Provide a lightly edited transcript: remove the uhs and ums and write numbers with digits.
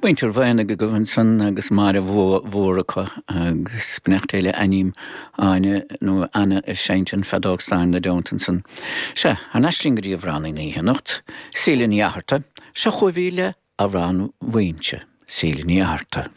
Muintir Mhaonaigh agaibh ansan agus Máire Mhór acu agus beannacht Dé le Ainním Áine nó Anna ag seinnt an feadóg stáin ina dteannta ansan. Sea, thar n-ais linn go dtí amhránaí na hoíche anocht, Síle Ní Fhatharta. Seo chugaibh í le Amhrán Mhaínse, Síle Ní Fhatharta.